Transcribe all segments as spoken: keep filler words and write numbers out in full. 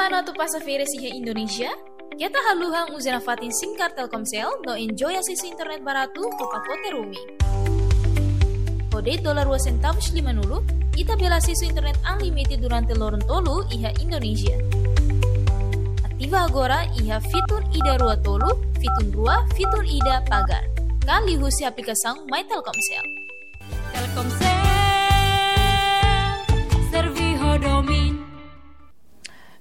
Atu pasa férias iha Indonézia? Keta haluha uza nafatin SIM card Telkomsel no enjoy asesu internet baratu ho pakote roaming. Ho de'it dolar rua sentavus limanulu, ita bele asesu internet unlimited durante loron tolu iha Indonézia. Ativa agora iha fitun ida rua tolu, fitun rua, fitun ida pagar. Ka liuhusi aplikasaun My Telkomsel. Telkomsel, servi ho domin.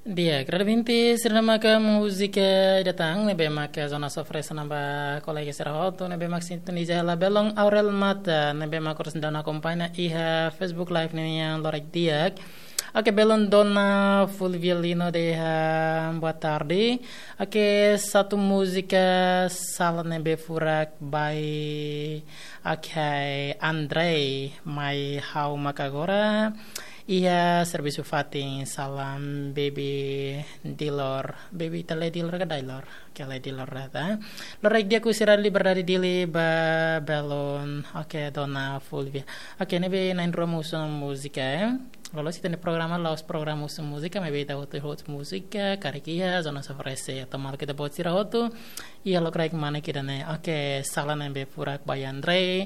Di'ak, rada vinti, sira maka múzika ida tan, ne'ebé maka Jonas oferese ba kolega sira hotu, ne'ebé maka sintoniza hela belun Aurel Mata, ne'ebé maka oras daudaun akompaña iha Facebook Live nian, loraik di'ak. Oke, belun Dona Fulvia Lino dehan boa tarde. Oke, satu múzika sala ne'ebé furak bai, oke, Andrei, mai ha'u maka agora iha servisu fatin, salam Baby Dilor. Baby ita lee Dilor ka Dailor? Oke, lee Dilor rata. Loraik di'ak husi Rádiu Liberdade Dili ba belun. Oke, Dona Fulvia. Oke, ne'ebé na'in-rua mak husu múzika, eh. Loloos ita-nia programa la'ós programa husu múzika, maibé ita hotu-hotu múzika, karik iha, Jonas oferese. Atu malu ita-boot sira hotu, iha lokraik manek ida-ne'e. Oke, sala ne'ebé furak bai Andrei.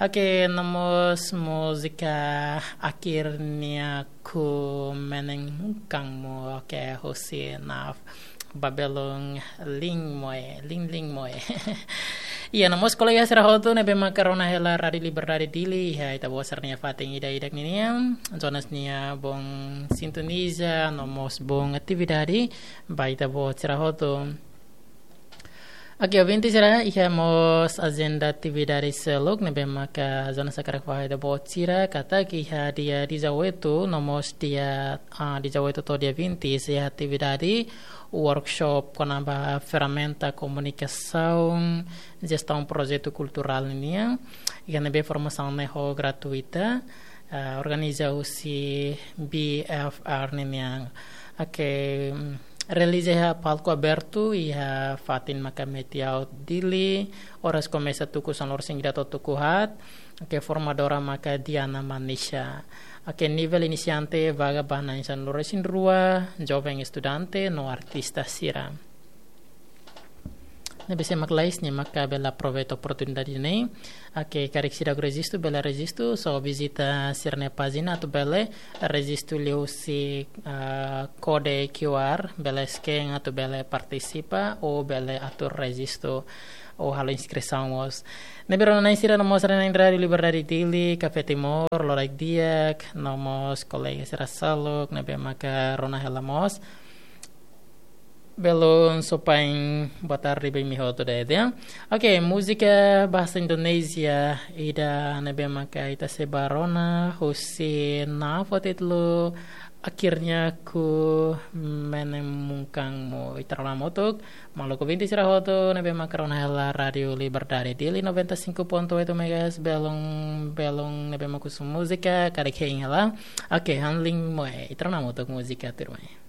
Oke, no mós múzika Akhirnya Ku Menemukanmu. Oke, husi Naf. Ba belun Ling Moe, Ling Ling Moe. Iha, no mós kolega sira hotu ne'ebé maka rona hela Rádiu Liberdade Dili, iha ita-boot sira-nia fatin ida-idak ninian. Jonas nia bom sintoniza, no mós bom atividade ba ita-boot sira hotu. Oke, ouvinte sira, iha mós ajenda atividade seluk ne'ebé maka Jonas hakarak fahe ba ita-boot sira, katak iha dia dezoito, no mós dia, ah, dezoito to'o dia vinte, iha atividade workshop kona-ba ferramenta komunikasaun, jestaun projetu kulturál nian, iha ne'ebé formasaun ne'e ho gratuita, ah, organiza husi B F R nian. Oke, mm, realiza iha palku abertu, iha fatin maka Metiaut Dili, oras komesa tuku sanulu-resin-ida to'o tuku haat, oke, formadora maka Diana Manisha. Oke, nivel inisiante vaga ba na'in sanulu-resin-rua, joven estudante, no artista sira. Ne'ebé sé mak lalais, nia maka bele aproveita oportunidade ne'e. Oke, karik seidauk rejistu, bele rejistu, só vizita sira-nia pájina atu bele rejistu liuhusi, ah, kode Q R, bele scan atu bele partisipa, ou bele atu rejistu, ou halo inskrisaun mós. Ne'ebé rona na'in sira no mós rona na'in Rádiu Liberdade Dili, Café Timor, loraik di'ak, no mós kolega sira seluk, ne'ebé maka rona hela mós. Belun Sopain, boa tarde ba imi hotu de'it, ya. Oke, múzika bahasa Indonesia ida ne'ebé maka ita sei bá rona husi Naf ho títulu Akhirnya Ku Menemukanmu. Ita rona hamutuk, maluk ouvinte sira hotu ne'ebé maka rona hela Rádiu Liberdade Dili noventa e cinco ponto oito megahertz, belun, belun ne'ebé maka husu múzika, karik hein hela. Oke, han Ling Moe, ita rona hamutuk múzika tuirmai.